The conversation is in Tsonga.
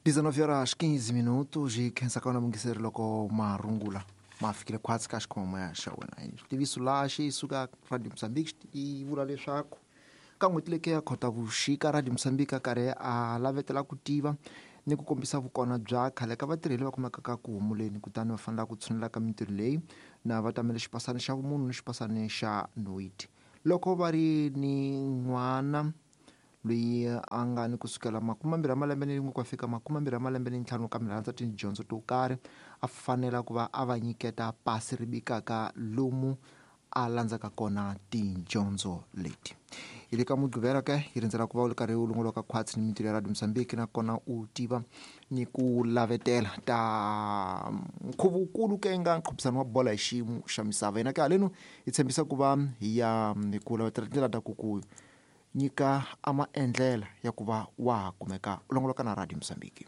19 horas 15 minutos hi khensa ka wena mungiseri loko marungula ma fikile khwatsi ka xikhomamo xa wena. Xitiviso laha xi suka Radio Mozambique xi vula leswaku ka n'hweti leyi ya Khotavuxika, Radio Mozambique a karhi a lavetela ku tiva ni ku kombisa vukona bya khale ka vatirheli va kumekaka ku humuleni, kutani va fanela ku tshunela ka mintirho leyi na va tamele xipasani xa vumunhu ni xipasani xa noiti loko va ri ni n'wana loyi a nga ni kusukela 20 ya malembe ni rin'we ku ya fika 25 ya malembe ni ntlhanu, kambe rhandza tidyondzo to karhi, a fanela ku va a va nyiketa pasi ri bikaka lomu a landzaka kona tidyondzo leti. Hi le ka Mugqivela ke hi rindzela ku va u ri karhi u longoloka khwatsi ni mintirho ya Radio Mozambique, nakona u tiva ni ku lavetela ta nkhuvukulu ke nga nqhubisano wa bola hi xiyimo xa misava. Hina ke halenu hi tshembisa ku va hi ya hi ku lavetela tindlela ta ku ku nyika a maendlela ya ku va wa ha kumeka u longoloka na Radio Mozambique.